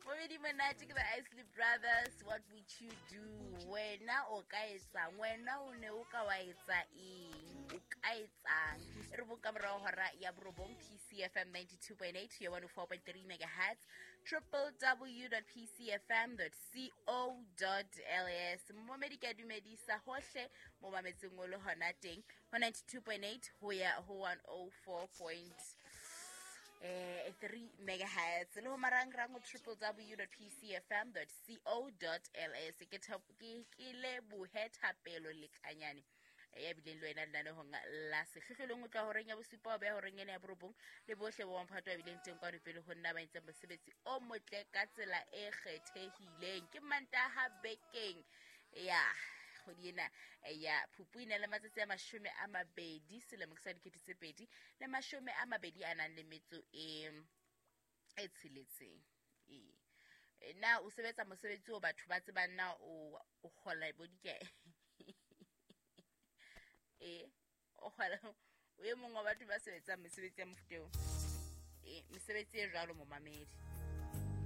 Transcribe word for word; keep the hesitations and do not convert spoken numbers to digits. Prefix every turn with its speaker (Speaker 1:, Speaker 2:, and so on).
Speaker 1: Momedi monate ke the Isley Brothers, What Would You Do? Wena o ka etsang? Wena o ne o ka wa etsa eng? O ka etsang? E re boka morao hora ya borobong, P C F M ninety-two point eight, ya one oh four point three megahertz, triple w dot p c f m dot co dot l s. Momedi ke a dumedisa hohle mo mametseng o le hona teng ho ninety-two point eight ho ya ho one oh four point three megahertz le ho marangrang ho triple w dot p c f m dot co dot l s. Ke ke ke lebohe Thapelo Lekanyane ya bileng le wena lenanehong la sehlohlolong o tla horeng ya bosupa ho beha horeng ena ya borobong le bohle bo mamphato a bileng teng kwano pele ho nna ba entseng mosebetsi o motle ka tsela e kgethehileng. Ke Mantaha bekeng ya kgwedi ena ya Phupu e na le matsatsi a mashome a mabedi selemo ke sa dikete tse pedi le mashome a mabedi a nang le metso e e tsheletseng. E na o sebetsa mosebetsi o batho ba tsebang na o o kgola bo dikae? E o kgola o e mong wa batho ba sebetsang mesebetsi ya mofuta eo. E mesebetsi e jwalo momamedi.